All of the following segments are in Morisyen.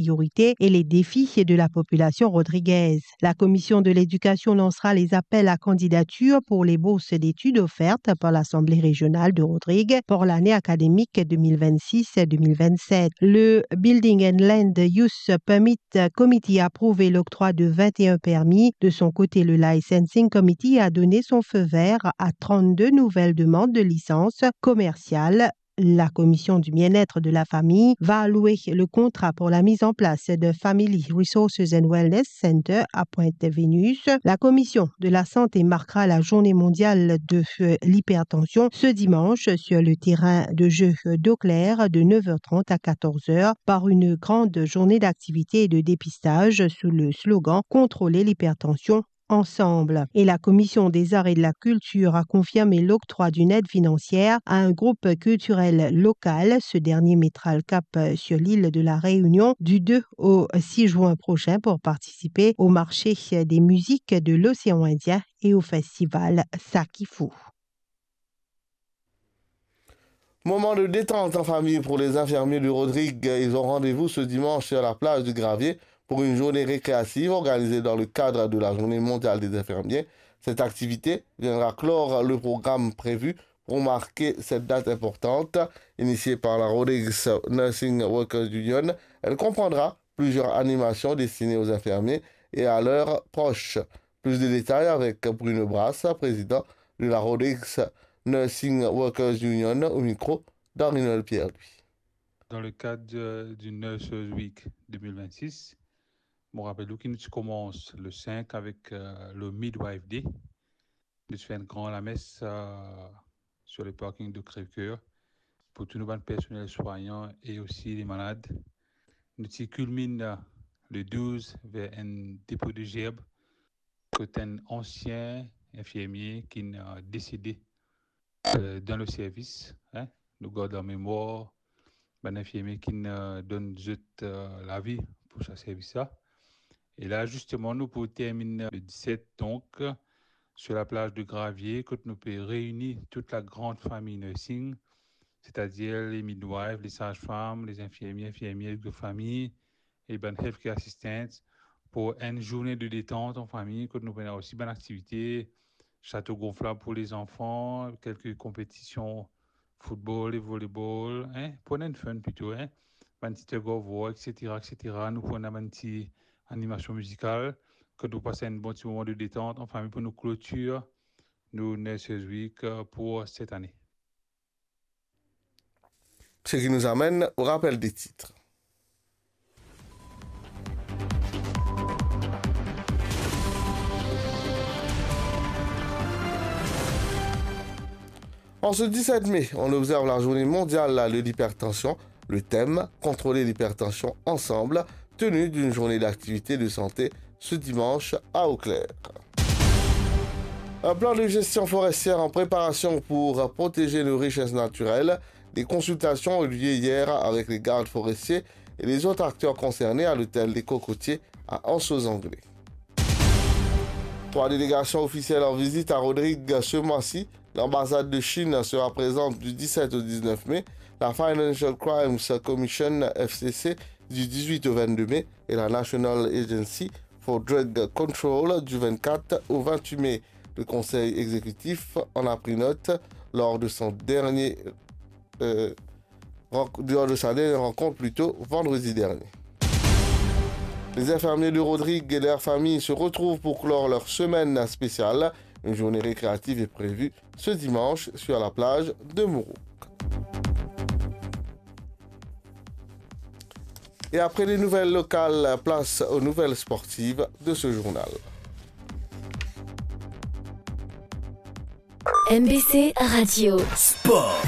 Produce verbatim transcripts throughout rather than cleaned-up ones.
priorités et les défis de la population rodriguaise. La Commission de l'Éducation lancera les appels à candidature pour les bourses d'études offertes par l'Assemblée régionale de Rodrigues pour l'année académique deux mille vingt-six deux mille vingt-sept. Le Building and Land Use Permit Committee a approuvé l'octroi de vingt et un permis. De son côté, le Licensing Committee a donné son feu vert à trente-deux nouvelles demandes de licence commerciale. La Commission du bien-être de la famille va allouer le contrat pour la mise en place de Family Resources and Wellness Center à Pointe-Vénus. La Commission de la santé marquera la journée mondiale de, euh, l'hypertension ce dimanche sur le terrain de jeu d'Eau Claire de neuf heures trente à quatorze heures par une grande journée d'activité et de dépistage sous le slogan « Contrôler l'hypertension ensemble ». Et la Commission des Arts et de la Culture a confirmé l'octroi d'une aide financière à un groupe culturel local. Ce dernier mettra le cap sur l'île de la Réunion du deux au six juin prochain pour participer au marché des musiques de l'océan Indien et au festival Sakifou. Moment de détente en famille pour les infirmiers de Rodrigues. Ils ont rendez-vous ce dimanche sur la plage du Gravier pour une journée récréative organisée dans le cadre de la Journée mondiale des infirmiers. Cette activité viendra clore le programme prévu pour marquer cette date importante. Initiée par la Rodrigues Nursing Workers Union, elle comprendra plusieurs animations destinées aux infirmiers et à leurs proches. Plus de détails avec Bruno Brasse, président de la Rodrigues Nursing Workers Union, au micro d'Arnold Pierre-Louis. Dans le cadre, euh, du Nurses Week deux mille vingt-six, mo rapel ou ki nou ti koumans le cinq avec, euh, le Midwife Day. Nou ti fer enn gran lames, euh, sur le parking de Crèvecoeur pour tous nos bann personnels soignants et aussi les malades. Nou ti kilminn, euh, le douze ver enn depo de zerb kot enn ansien infirmie ki'nn, euh, desede, euh, dan le servis, hein. Nou gard an memwar bann infirmie ki'nn, euh, donn zot, euh, lavi pou sa servis la. E la, zisteman, nou pou terminn le dix-sept, donk, sur la plage de Gravier, kot nou pe reini tout la grande famille nursing, c'est-à-dire les midwives, les sages-femmes, les infirmiers, infirmières de famille, e bann healthcare assistants pour une journée de détente en famille, kot nou pena osi bann aktivite, château gonflable pour les enfants, quelques compétitions football et volleyball, hein, pou enn fun plito, hein, bann ti tug of war, et cetera, et cetera. Nou pou ena bann ti animasion mizikal, kot nou pas enn bon ti moman de détente en famille pour nou clôture nou Nurses Week, euh, pour cette année. Ce qui nous amène au rappel des titres. En ce dix-sept mai, on observe la journée mondiale de l'hypertension. Le thème, contrôler l'hypertension ensemble, tenue d'une journée d'activité de santé ce dimanche à Eau Claire. Un plan de gestion forestière en préparation pour protéger nos richesses naturelles. Des consultations ont eu lieu hier avec les gardes forestiers et les autres acteurs concernés à l'hôtel des Cocotiers à Anse aux Anglais. Trois délégations officielles en visite à Rodrigues ce mois-ci. L'ambassade de Chine sera présente du dix-sept au dix-neuf mai, la Financial Crimes Commission, F C C, du dix-huit au vingt-deux mai et la National Agency for Drug Control du vingt-quatre au vingt-huit mai. Le Conseil exécutif en a pris note lors de son dernier, euh, renc-, lors de sa dernière rencontre, plutôt, vendredi dernier. Les infirmiers de Rodrigues et leurs familles se retrouvent pour clore leur semaine spéciale. Une journée récréative est prévue ce dimanche sur la plage de Mourouk. Et après les nouvelles locales, place aux nouvelles sportives de ce journal. M B C Radio. Sport.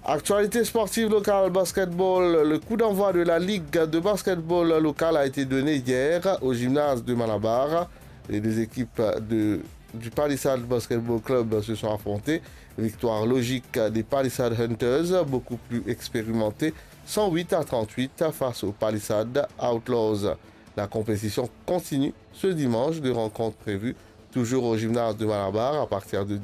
Actualité sportive locale, basketball. Le coup d'envoi de la Ligue de basketball locale a été donné hier au gymnase de Malabar. Les deux équipes de, du Palisade Basketball Club se sont affrontées. Victoire logique des Palisade Hunters, beaucoup plus expérimentés, cent huit à trente-huit face aux Palisade Outlaws. La compétition continue ce dimanche, deux rencontres prévues, toujours au gymnase de Malabar à partir de